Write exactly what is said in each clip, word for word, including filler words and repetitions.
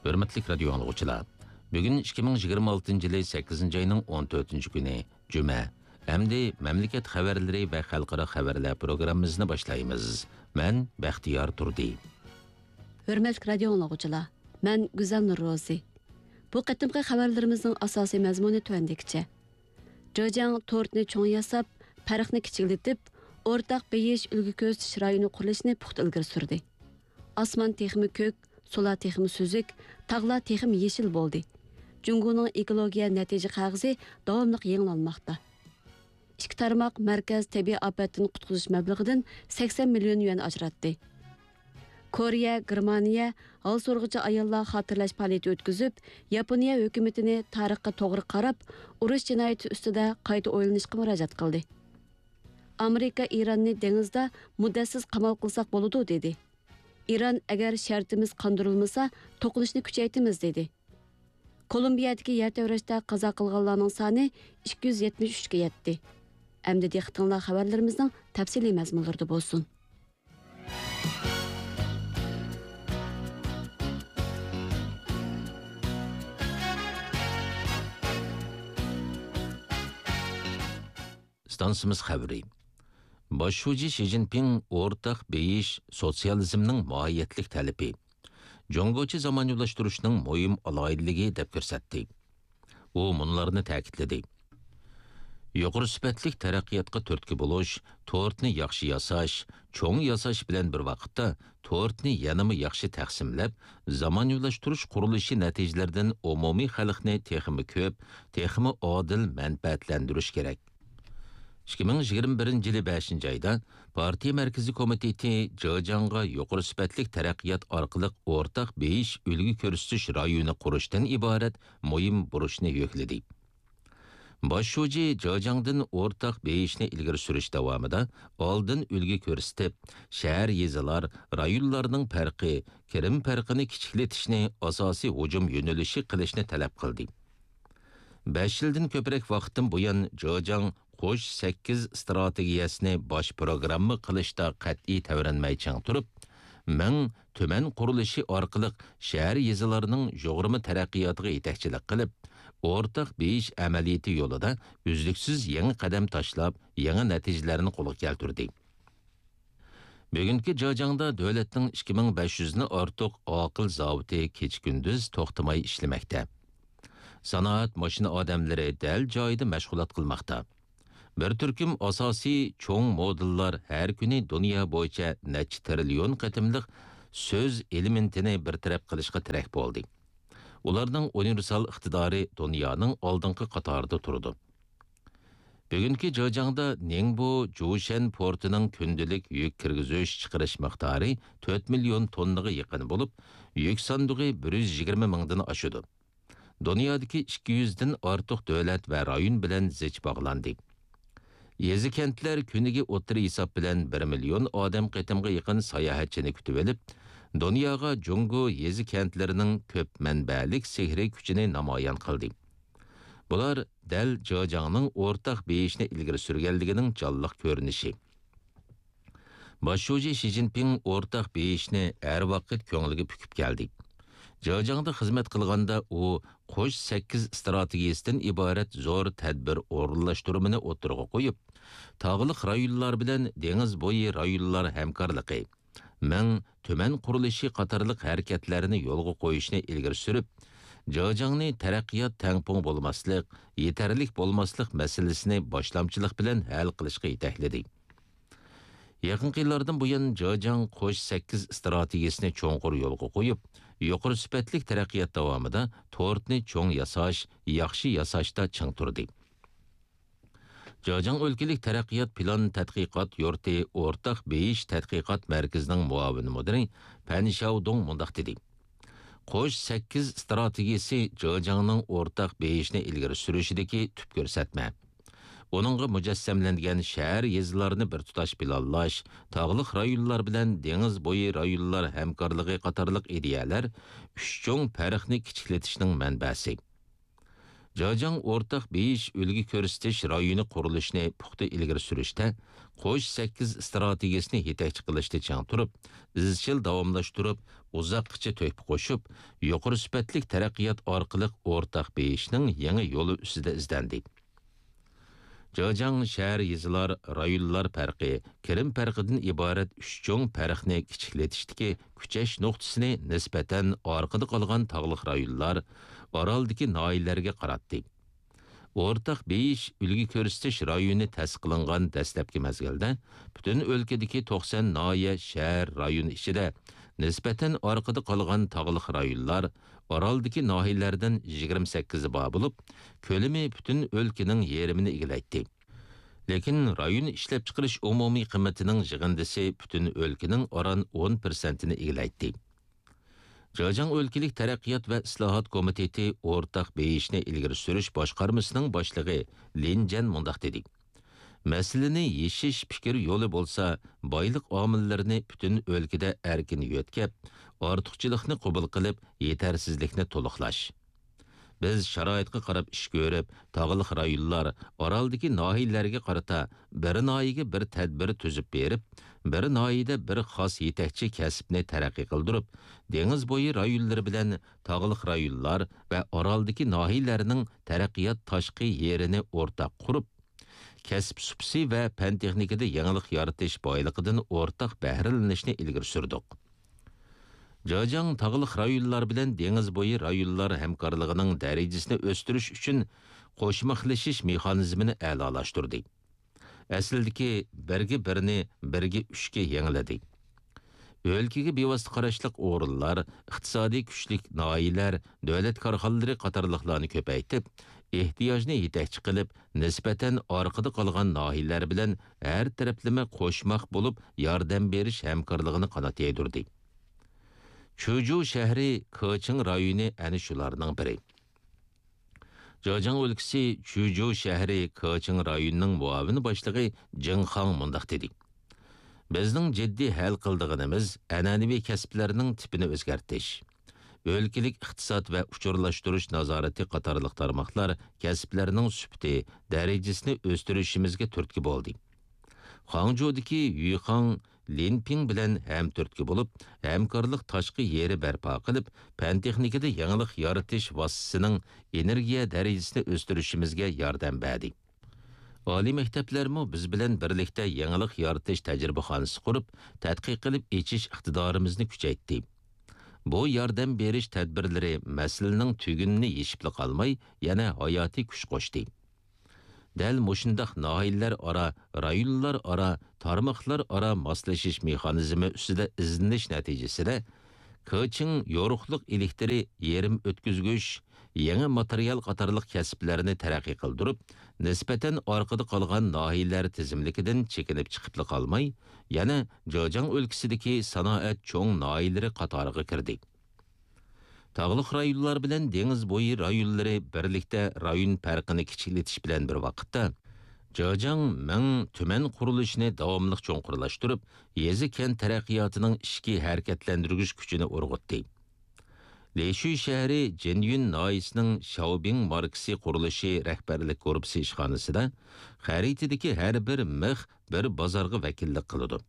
ھۆرمەتلىك رادىيو ئاڭلىغۇچىلار، بۈگۈن ئىككى مىڭ يىگىرمە ئالتىنچى يىلى سەككىزىنچى ئاينىڭ ئون تۆتىنچى كۈنى، جۈمە. ئەمدى مەملىكەت خەۋەرلىرى ۋە خەلقئارا خەۋەرلەر پروگراممىمىزنى باشلايمىز. مەن بەختىيار تۇردى. ھۆرمەتلىك رادىيو ئاڭلىغۇچىلار، مەن گۈزەل نۇرروزى. بۇ قېتىمقى خەۋەرلىرىمىزنىڭ ئاساسىي مەزمۇنى تۆۋەندىكىچە. جېجياڭ تورتنى چوڭ ياساپ، پەرقنى كىچىكلىتىپ، ئورتاق بېيىش، ئۈلگە كۆرسىتىش رايونى قۇرۇلۇشىنى پۇختا ئىلگىرى سۈردى. ئاسمان تېخىمۇ كۆك، سۇلار تېخىمۇ سۈزۈك، تاغلار تېخىمۇ يېشىل بولدى. جۇڭگونىڭ ئېكولوگىيە نەتىجە قەغىزى داۋاملىق يېڭىلانماقتا. ئىككى تارماق مەركەز تەبىئىي ئاپەتتىن قۇتقۇزۇش مەبلىغىدىن سەكسەن مىليون يۈەن ئاجراتتى. كورېيە، گېرمانىيە ھال سورىغۇچى ئاياللار خاتىرىلەش پائالىيىتى ئۆتكۈزۈپ، ياپونىيە ھۆكۈمىتىنى تارىخقا توغرا قاراپ، ئۇرۇش جىنايىتى ئۈستىدە قايتا ئويلىنىشقا مۇراجىئەت قىلدى. ئامېرىكا ئىراننى دېڭىزدا مۇددەتسىز قامال قىلساق بولىدۇ، دېدى. ئىران ئەگەر شەرتىمىز قاندۇرۇلمىسا، توقۇنۇشنى كۈچەيتىمىز، دېدى. كولومبىيەدىكى يەر تەۋرەشتە قازا قىلغانلارنىڭ سانى ئىككى يۈز يەتمىش ئۈچكە يەتتى. ئەمدى دىققىتىڭلار خەۋەرلىرىمىزنىڭ تەپسىلىي مەزمۇنلىرىدا بولسۇن. ئىستانسىمىز خەۋىرى. باش شۇجى شى جىنپىڭ ئورتاق بېيىش سوتسىيالىزمنىڭ ماھىيەتلىك تەلىپى، جۇڭگوچە زامانىۋىلاشتۇرۇشنىڭ مۇھىم ئالاھىدىلىكى دەپ كۆرسەتتى. ئۇ مۇنۇلارنى تەكىتلىدى: يۇقىرى سۈپەتلىك تەرەققىياتقا تۈرتكە بولۇش، تورتنى ياخشى ياساش، چوڭ ياساش بىلەن بىر ۋاقىتتا، تورتنى يەنىمۇ ياخشى تەقسىملەپ، زامانىۋىلاشتۇرۇش قۇرۇلۇشى نەتىجىلىرىدىن ئومۇمىي خەلقنى تېخىمۇ كۆپ، تېخىمۇ ئادىل مەنپەئەتلەندۈرۈش كېرەك. ئىككى مىڭ يىگىرمە بىرىنچى يىلى بەشىنچى ئايدا پارتىيە مەركىزىي كومىتېتى جېجياڭغا يۇقىرى سۈپەتلىك تەرەققىيات ئارقىلىق ئورتاق بېيىش، ئۈلگە كۆرسىتىش رايونى قۇرۇشتىن ئىبارەت مۇھىم بۇرچنى يۈكلىدى. باش شۇجى جېجياڭدىن ئورتاق بېيىشنى ئىلگىرى سۈرۈش داۋامىدا ئالدىن ئۈلگە كۆرسىتىپ، شەھەر، يېزىلار، رايونلارنىڭ پەرقى، كىرىم پەرقىنى كىچىكلىتىشنى ئاساسىي ھۇجۇم يۆنىلىشى قىلىشنى تەلەپ قىلدى. بەش يىلدىن كۆپرەك ۋاقىتتىن بۇيان جېجياڭ قوش سەككىز ئىستراتېگىيەسىنى باش پروگرامما قىلىشتا قەتئىي تەۋرەنمەي چىڭ تۇرۇپ، مىڭ تۈمەن قۇرۇلۇشى ئارقىلىق شەھەر، يېزىلارنىڭ يۇغۇرما تەرەققىياتىغا يېتەكچىلىك قىلىپ، ئورتاق بېيىش ئەمەلىيىتى يولىدا ئۈزلۈكسىز يېڭى قەدەم تاشلاپ، يېڭى نەتىجىلەرنى قولغا كەلتۈردى. بۈگۈنكى جېجياڭدا دۆلەتنىڭ ئىككى مىڭ بەش يۈزدىن ئارتۇق ئاقىل زاۋۇتى كېچە-كۈندۈز توختىماي ئىشلىمەكتە. سانائەت ماشىنا ئادەملىرى دەل جايىدا مەشغۇلات قىلماقتا. بىر تۈركۈم ئاساسىي چوڭ مودېللار ھەر كۈنى دۇنيا بويىچە نەچچە تىرىليون قېتىملىق سۆز ئېلېمېنتىنى بىر تەرەپ قىلىشقا تىرەك بولدى. ئۇلارنىڭ ئۇنىۋېرسال ئىقتىدارى دۇنيانىڭ ئالدىنقى قاتارىدا تۇرىدۇ. بۈگۈنكى جېجياڭدا نىڭبو جۇشەن پورتىنىڭ كۈندىلىك يۈك كىرگۈزۈش چىقىرىش مىقدارى تۆت مىليون توننىغا يېقىن بولۇپ، يۈك ساندۇقى بىر يۈز يىگىرمە مىڭدىن ئاشىدۇ. دۇنيادىكى ئىككى يۈزدىن ئارتۇق دۆلەت ۋە رايون بىلەن زىچ باغلاندى. يېزا-كەنتلەر كۈنىگە ئوتتۇرا ھېساب بىلەن بىر مىليون ئادەم قېتىمغا يېقىن ساياھەتچىنى كۈتۈۋېلىپ، دۇنياغا جۇڭگو يېزا-كەنتلىرىنىڭ كۆپ مەنبەلىك سېھرىي كۈچىنى نامايان قىلدى. بۇلار دەل جېجياڭنىڭ ئورتاق بېيىشنى ئىلگىرى سۈرگەنلىكىنىڭ جانلىق كۆرۈنۈشى. باش شۇجى شى جىنپىڭ ئورتاق بېيىشنى ھەر ۋاقىت كۆڭلىگە پۈكۈپ كەلدى. جېجياڭدا خىزمەت قىلغاندا ئۇ قوش سەككىز ئىستراتېگىيەسىدىن ئىبارەت زور تەدبىر ئورۇنلاشتۇرمىنى ئوتتۇرىغا قويۇپ، تاغلىق رايونلار بىلەن دېڭىز بويى رايونلار ھەمكارلىقى، مىڭ تۈمەن قۇرۇلۇشى قاتارلىق ھەرىكەتلەرنى يولغا قويۇشنى ئىلگىرى سۈرۈپ، جېجياڭنى تەرەققىيات تەڭپۇڭ بولماسلىق، يېتەرلىك بولماسلىق مەسىلىسىنى باشلامچىلىق بىلەن ھەل قىلىشقا يېتەكلىدى. يېقىنقى يىللاردىن بۇيان، جېجياڭ قوش سەككىز ئىستراتېگىيەسىنى چوڭقۇر يولغا قويۇپ، يۇقىرى سۈپەتلىك تەرەققىيات داۋامىدا تورتنى چوڭ ياساش، ياخشى ياساشتا چىڭ تۇردى. جېجياڭ ئۆلكىلىك تەرەققىيات پىلان تەتقىقات يۇرتى ئورتاق بېيىش تەتقىقات مەركىزىنىڭ مۇئاۋىن مۇدىرى پەن شياۋدۇڭ مۇنداق دېدى: قوش سەككىز ئىستراتېگىيەسى جېجياڭنىڭ ئورتاق بېيىشنى ئىلگىرى سۈرۈشىدىكى تۈپ كۆرسەتمە. ئۇنىڭغا مۇجەسسەملەنگەن شەھەر، يېزىلارنى بىر تۇتاش پىلانلاش، تاغلىق رايونلار بىلەن دېڭىز بويى رايونلار ھەمكارلىقى قاتارلىق ئىدىيەلەر ئۈچ چوڭ پەرقنى كىچىكلىتىشنىڭ مەنبەسى. جېجياڭ ئورتاق بېيىش، ئۈلگە كۆرسىتىش رايونى قۇرۇلۇشىنى پۇختا ئىلگىرى سۈرۈشتە، قوش سەككىز ئىستراتېگىيەسىنى يېتەكچى قىلىشتا چىڭ تۇرۇپ، ئىزچىل داۋاملاشتۇرۇپ، ئۇزاققىچە تۆھپە قوشۇپ، يۇقىرى سۈپەتلىك تەرەققىيات ئارقىلىق ئورتاق بېيىشنىڭ يېڭى يولى ئۈستىدە ئىزدەندى. جېجياڭ شەھەر يېزىلار، رايونلار پەرقى، كىرىم پەرقىدىن ئىبارەت ئۈچ چوڭ پەرقنى كىچىكلىتىشتىكى كۈچەش نۇقتىسىنى نىسبەتەن ئارقىدا قالغان تاغلىق رايونلار، ئارالدىكى ناھىيەلەرگە قاراتتى. ئورتاق بېيىش ئۈلگە كۆرسىتىش رايونى تەسىس قىلىنغان دەسلەپكى مەزگىلدە پۈتۈن ئۆلكىدىكى توقسان ناھىيە، شەھەر، رايون ئىچىدە نىسبەتەن ئارقىدا قالغان تاغلىق رايونلار، ئارالدىكى ناھىيەلەردىن يىگىرمە سەككىزى بار بولۇپ، كۆلىمى پۈتۈن ئۆلكىنىڭ يېرىمىنى ئىگىلەيتتى. لېكىن رايون ئىشلەپچىقىرىش ئومۇمىي قىممىتىنىڭ يىغىندىسى پۈتۈن ئۆلكىنىڭ ئاران ئون پىرسەنتىنى ئىگىلەيتتى. جېجياڭ ئۆلكىلىك تەرەققىيات ۋە ئىسلاھات كومىتېتى ئورتاق بېيىشنى ئىلگىرى سۈرۈش باشقارمىسىنىڭ باشلىقى لىن جەن مۇنداق دېدى: مەسىلىنى يېشىش پىكىر يولى بولسا، بايلىق ئامىللىرىنى پۈتۈن ئۆلكىدە ئەركىن يۆتكەپ، ئارتۇقچىلىقنى قوبۇل قىلىپ، يېتەرسىزلىكنى تولۇقلاش. بىز شارائىتقا قاراپ ئىش كۆرۈپ، تاغلىق رايونلار، ئارالدىكى ناھىيەلەرگە قارىتا بىر ناھىيەگە بىر تەدبىر تۈزۈپ بېرىپ، بىر ناھىيەدە بىر خاس يېتەكچى كەسىپنى تەرەققىي قىلدۇرۇپ، دېڭىز بويى رايونلىرى بىلەن تاغلىق رايونلار ۋە ئارالدىكى ناھىيەلەرنىڭ تەرەققىيات تاشقى يېرىنى ئورتاق قۇرۇپ، كەسىپ سۇپىسى ۋە پەن-تېخنىكىدا يېڭىلىق يارىتىش بايلىقىدىن ئورتاق بەھرىلىنىشنى ئىلگىرى سۈردۇق. جېجياڭ تاغلىق رايونلار بىلەن دېڭىز بويى رايونلار ھەمكارلىقىنىڭ دەرىجىسىنى ئۆستۈرۈش ئۈچۈن قوشماقلىشىش مېخانىزمىنى ئەلالاشتۇردى. ئەسلىدىكى بىرگە بىرنى بىرگە ئۈچكە يېڭىلىدى. ئۆلكىگە بىۋاسىتە قاراشلىق ئورۇنلار، ئىقتىسادىي كۈچلۈك ناھىيەلەر، دۆلەت كارخانىلىرى قاتارلىقلارنى كۆپەيتىپ، ئېھتىياجنى يېتەكچى قىلىپ، نىسبەتەن ئارقىدا قالغان ناھىيەلەر بىلەن ھەر تەرەپلىمە قوشماق بولۇپ ياردەم بېرىش ھەمكارلىقىنى قانات يايدۇردى. چۈجۇ شەھىرى، كېچىڭ رايونى ئەنە شۇلارنىڭ بىرى. جېجياڭ ئۆلكىسى چۈجۇ شەھىرى كېچىڭ رايونىنىڭ مۇئاۋىن باشلىقى جېڭ خاڭ مۇنداق دېدى: بىزنىڭ جىددىي ھەل قىلىدىغىنىمىز ئەنئەنىۋى كەسىپلەرنىڭ تىپىنى ئۆزگەرتىش. ئۆلكىلىك ئىقتىساد ۋە ئۇچۇرلاشتۇرۇش نازارىتى قاتارلىق تارماقلار كەسىپلەرنىڭ سۈپىتى، دەرىجىسىنى ئۆستۈرۈشىمىزگە تۈرتكە بولدى. خاڭجۇدىكى يۈخاڭ لىنپىڭ بىلەن ھەمتۈرتكە بولۇپ، ھەمكارلىق تاشقى يېرى بەرپا قىلىپ، پەن-تېخنىكىدا يېڭىلىق يارىتىش ۋاسىتىسىنىڭ ئېنېرگىيە دەرىجىسىنى ئۆستۈرۈشىمىزگە ياردەم بەردى. ئالىي مەكتەپلەرمۇ بىز بىلەن بىرلىكتە يېڭىلىق يارىتىش تەجرىبىخانىسى قۇرۇپ، تەتقىق قىلىپ ئېچىش ئىقتىدارىمىزنى كۈچەيتتى. بۇ ياردەم بېرىش تەدبىرلىرى مەسىلىنىڭ تۈگۈنىنى يېشىپلا قالماي، يەنە ھاياتىي كۈچ قوشتى. دەل مۇشۇنداق ناھىيەلەر ئارا، رايونلار ئارا، تارماقلار ئارا ماسلىشىش مېخانىزمى ئۈستىدە ئىزدىنىش نەتىجىسىدە، كېچىڭ يورۇقلۇق ئېلېكتىرى، يېرىم ئۆتكۈزگۈچ، يېڭى ماتېرىيال قاتارلىق كەسىپلەرنى تەرەققىي قىلدۇرۇپ، نىسبەتەن ئارقىدا قالغان ناھىيەلەر تىزىملىكىدىن چېكىنىپ چىقىپلا قالماي، يەنە جېجياڭ ئۆلكىسىدىكى سانائەت چوڭ ناھىيەلىرى قاتارىغا كىردى. تاغلىق رايونلار بىلەن دېڭىز بويى رايونلىرى بىرلىكتە رايون پەرقىنى كىچىكلىتىش بىلەن بىر ۋاقىتتا، جېجياڭ مىڭ تۈمەن قۇرۇلۇشىنى داۋاملىق چوڭقۇرلاشتۇرۇپ، يېزا-كەنت تەرەققىياتىنىڭ ئىچكى ھەرىكەتلەندۈرگۈچ كۈچىنى ئۇرغۇتتى. لىشۈي شەھىرى جىنيۈن ناھىيەسىنىڭ شياۋبىڭ ماركىسى قۇرۇلۇشى رەھبەرلىك گۇرۇپپىسى ئىشخانىسىدا خەرىتىدىكى ھەر بىر مىخ بىر بازارغا ۋەكىللىك قىلىدۇ.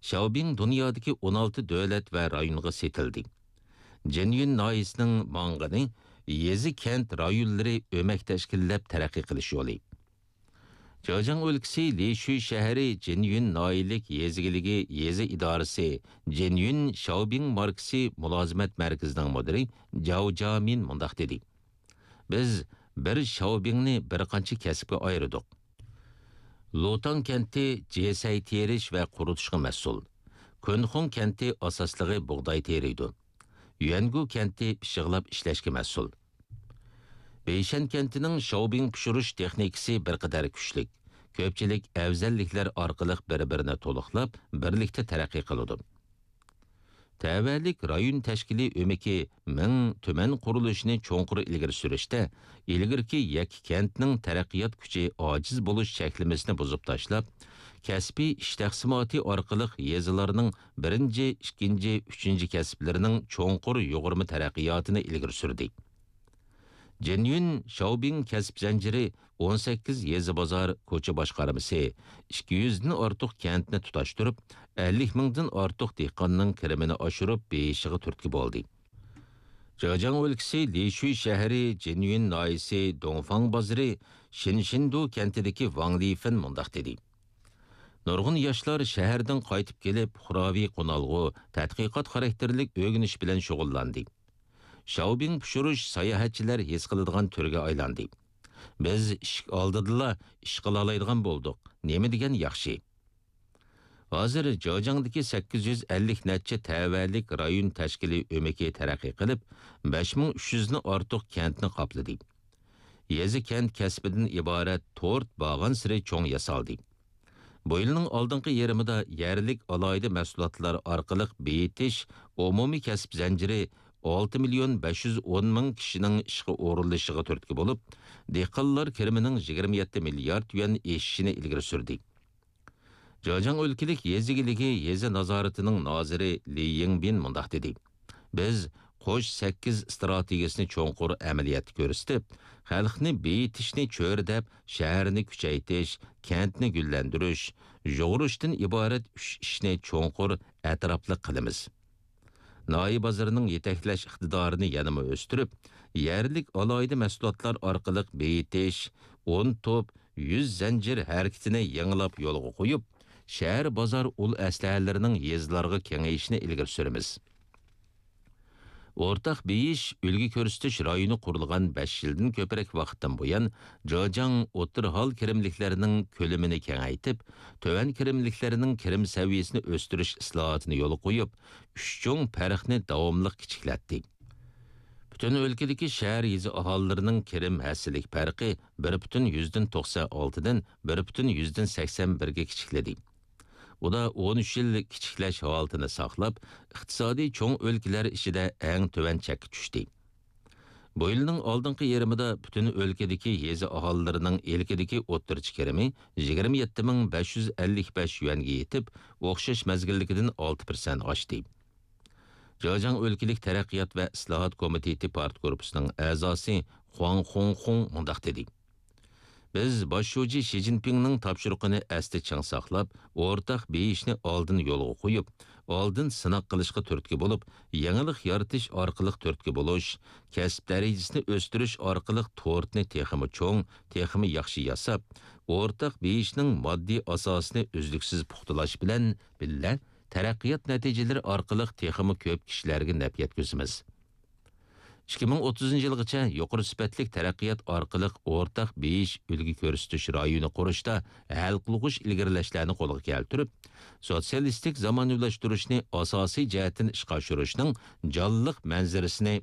شياۋبىڭ دۇنيادىكى ئون ئالتە دۆلەت ۋە رايونغا سېتىلدى. جىنيۈن ناھىيەسىنىڭ ماڭغىنى يېزا-كەنت رايونلىرى ئۆمەك تەشكىللەپ تەرەققىي قىلىش يولى. جېجياڭ ئۆلكىسى لىشۈي شەھىرى جىنيۈن ناھىيەلىك يېزا ئىگىلىكى يېزا ئىدارىسى جىنيۈن شياۋبىڭ ماركىسى مۇلازىمەت مەركىزىنىڭ مۇدىرى جاۋ جامىن مۇنداق دېدى: بىز بىر شياۋبىڭنى بىر قانچە كەسىپكە ئايرىدۇق. لۇتاڭ كەنتى جېسەي تېرىش ۋە قۇرۇتۇشقا مەسئۇل. كۇنخۇڭ كەنتى ئاساسلىقى بۇغداي تېرىيدۇ. يۈەنگۇ كەنتى پىششىقلاپ ئىشلەشكە مەسئۇل. بېيشەن كەنتىنىڭ شاۋبىڭ پىشۇرۇش تېخنىكىسى بىر قەدەر كۈچلۈك. كۆپچىلىك ئەۋزەللىكلەر ئارقىلىق بىر-بىرىنى تولۇقلاپ، بىرلىكتە تەرەققىي قىلىدۇ. تەۋەلىك رايون تەشكىلىي ئۆمىكى مىڭ تۈمەن قۇرۇلۇشىنى چوڭقۇر ئىلگىرى سۈرۈشتە، ئىلگىرىكى يەككە كەنتنىڭ تەرەققىيات كۈچى ئاجىز بولۇش چەكلىمىسىنى بۇزۇپ تاشلاپ، كەسپىي ئىش تەقسىماتى ئارقىلىق يېزىلارنىڭ بىرىنچى، ئىككىنچى، ئۈچىنچى كەسىپلىرىنىڭ چوڭقۇر يۇغۇرما تەرەققىياتىنى ئىلگىرى سۈردى. جېنيۈن شاۋبىڭ كەسىپ زەنجىرى ئون سەككىز يېزا بازار، كوچا باشقارمىسى ئىككى يۈزدىن ئارتۇق كەنتنى تۇتاشتۇرۇپ، ئەللىك مىڭدىن ئارتۇق دېھقاننىڭ كىرىمىنى ئاشۇرۇپ بېيىشىغا تۈرتكە بولدى. جېجياڭ ئۆلكىسى لىشۈي شەھىرى جېنيۈن ناھىيەسى دۇڭفاڭ بازىرى شىنشىندۇ كەنتىدىكى ۋاڭ لىفېن مۇنداق دېدى: نۇرغۇن ياشلار شەھەردىن قايتىپ كېلىپ، پۇقراۋى قونالغۇ، تەتقىقات خاراكتېرلىك ئۆگىنىش بىلەن شۇغۇللاندى. شاۋبىڭ پىشۇرۇش ساياھەتچىلەر ھېس قىلىدىغان تۈرگە ئايلاندى. بىز ئىشىك ئالدىدىلا ئىش قىلالايدىغان بولدۇق. نېمە دېگەن ياخشى! ھازىر جېجياڭدىكى سەككىز يۈز ئەللىك نەچچە تەۋەلىك رايون تەشكىلىي ئۆمىكى تەرەققىي قىلىپ، بەش مىڭ ئۈچ يۈزدىن ئارتۇق كەنتنى قاپلىدى. يېزا-كەنت كەسپىدىن ئىبارەت تورت بارغانسېرى چوڭ ياسالدى. بۇ يىلنىڭ ئالدىنقى يېرىمىدا يەرلىك ئالاھىدە مەھسۇلاتلار ئارقىلىق بېيىتىش ئومۇمىي كەسىپ زەنجىرى ئالتە مىليون بەش يۈز ئون مىڭ كىشىنىڭ ئىشقا ئورۇنلىشىشىغا تۈرتكە بولۇپ، دېھقانلار كىرىمىنىڭ يىگىرمە يەتتە مىليارد يۈەن ئېشىشىنى ئىلگىرى سۈردى. جېجياڭ ئۆلكىلىك يېزا ئىگىلىكى يېزا نازارىتىنىڭ نازىرى لى يىڭبىن مۇنداق دېدى: بىز قوش سەككىز ئىستراتېگىيەسىنى چوڭقۇر ئەمەلىيەتتە كۆرسىتىپ، خەلقنى بېيىتىشنى چۆرىدەپ، شەھەرنى كۈچەيتىش، كەنتنى گۈللەندۈرۈش، يۇغۇرۇشتىن ئىبارەت ئۈچ ئىشنى چوڭقۇر، ئەتراپلىق قىلىمىز. ناھىيە بازىرىنىڭ يېتەكلەش ئىقتىدارىنى يەنىمۇ ئۆستۈرۈپ، يەرلىك ئالاھىدە مەھسۇلاتلار ئارقىلىق بېيىتىش، ئون توپ، يۈز زەنجىر ھەرىكىتىنى يېڭىلاپ يولغا قويۇپ، شەھەر بازار ئۇل ئەسلىھەلىرىنىڭ يېزىلارغا كېڭىيىشىنى ئىلگىرى سۈرىمىز. ئورتاق بېيىش، ئۈلگە كۆرسىتىش رايونى قۇرۇلغان بەش يىلدىن كۆپرەك ۋاقىتتىن بۇيان، جېجياڭ ئوتتۇرا ھال كىرىملىكلەرنىڭ كۆلىمىنى كېڭەيتىپ، تۆۋەن كىرىملىكلەرنىڭ كىرىم سەۋىيەسىنى ئۆستۈرۈش ئىسلاھاتىنى يولغا قويۇپ، ئۈچ چوڭ پەرقنى داۋاملىق كىچىكلەتتى. پۈتۈن ئۆلكىدىكى شەھەر، يېزا ئاھالىلىرىنىڭ كىرىم ھەسسىلىك پەرقى بىر پۈتۈن يۈزدىن توقسان ئالتىدىن بىر پۈتۈن يۈزدىن سەكسەن بىرگە كىچىكلىدى. ئۇدا ئون ئۈچ يىل كىچىكلەش ھالىتىنى ساقلاپ، ئىقتىسادىي چوڭ ئۆلكىلەر ئىچىدە ئەڭ تۆۋەن چەككە چۈشتى. بۇ يىلنىڭ ئالدىنقى يېرىمىدا پۈتۈن ئۆلكىدىكى يېزا ئاھالىلىرىنىڭ ئىلكىدىكى ئوتتۇرىچە كىرىمى يىگىرمە يەتتە مىڭ بەش يۈز ئەللىك بەش يۈەنگە يېتىپ، ئوخشاش مەزگىلدىكىدىن ئالتە پىرسەنت ئاشتى. جېجياڭ ئۆلكىلىك تەرەققىيات ۋە ئىسلاھات كومىتېتى پارتگۇرۇپپىسىنىڭ ئەزاسى خۇاڭ خۇڭخۇڭ مۇنداق دېدى: بىز باش شۇجى شى جىنپىڭنىڭ تاپشۇرۇقىنى ئەستە چىڭ ساقلاپ، ئورتاق بېيىشنى ئالدىن يولغا قويۇپ، ئالدىن سىناق قىلىشقا تۈرتكە بولۇپ، يېڭىلىق يارىتىش ئارقىلىق تۈرتكە بولۇش، كەسىپ دەرىجىسىنى ئۆستۈرۈش ئارقىلىق تورتنى تېخىمۇ چوڭ، تېخىمۇ ياخشى ياساپ، ئورتاق بېيىشنىڭ ماددىي ئاساسىنى ئۈزلۈكسىز پۇختىلاش بىلەن بىللە، تەرەققىيات نەتىجىلىرى ئارقىلىق تېخىمۇ كۆپ كىشىلەرگە نەپ يەتكۈزىمىز. ئىككى مىڭ ئوتتۇزىنچى يىلغىچە يۇقىرى سۈپەتلىك تەرەققىيات ئارقىلىق ئورتاق بېيىش ئۈلگە كۆرسىتىش رايونى قۇرۇشتا ھەل قىلغۇچ ئىلگىرىلەشلەرنى قولغا كەلتۈرۈپ، سوتسىيالىستىك زامانىۋىلاشتۇرۇشنى ئاساسىي جەھەتتىن ئىشقا ئاشۇرۇشنىڭ جانلىق مەنزىرىسىنى